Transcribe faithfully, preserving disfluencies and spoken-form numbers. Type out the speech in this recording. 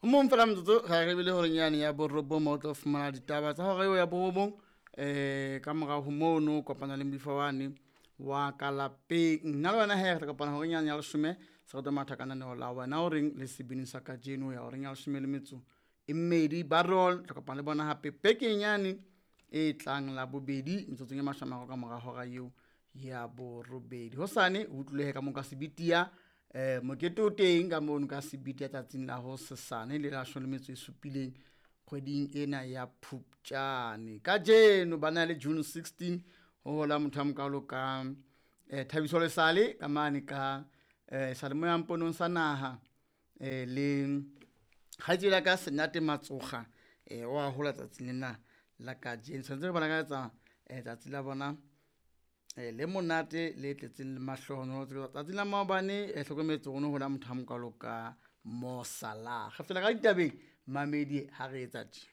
Ho mong fela metsotso ga re bile horeng yane ya borobong mo o tlo fumana ditaba tsa hora eo ya borobong. Um ka morao ho mono kopana le moifo wane wa ka lapeng. Nna le wena he re tla kopana horeng yane ya leshome, se re tlo matha ka lenaneo la wena o reng le sebini sa kajeno ho ya horeng ya leshome le metso e mmedi. Ba roll tla kopana le bona hape bekeng yane e tlang la bobedi metsotsong e mashome a mararo ka mora hora eo ya borobedi. Hosane o utlwile ka mo ka Sebitia, um mokete o teng ka mono ka Sebitia tsatsing la hosesane le la leshome le metso e supileng kgweding ena ya Phupjane. Kajeno ba na le June sixteen ho hola motho a mokalo ka eh, Thabiso Lesale ka mane ka eh, seyalemoya mponong sa naha, eh, le kgaitsedi ya ka Senate Matsoga, eh, wa hola tsatsing lena la kajeno. Tshwanetse re bona ka etsa eh, tsatsi la bona eh, le monate le tletseng le mahlohonolo. Tsatsing la maobane eh, hlokometse ho no hola motho a mokalo ka Mo Salah. Re fetela ka ditabeng mamedi ha re etsa tje.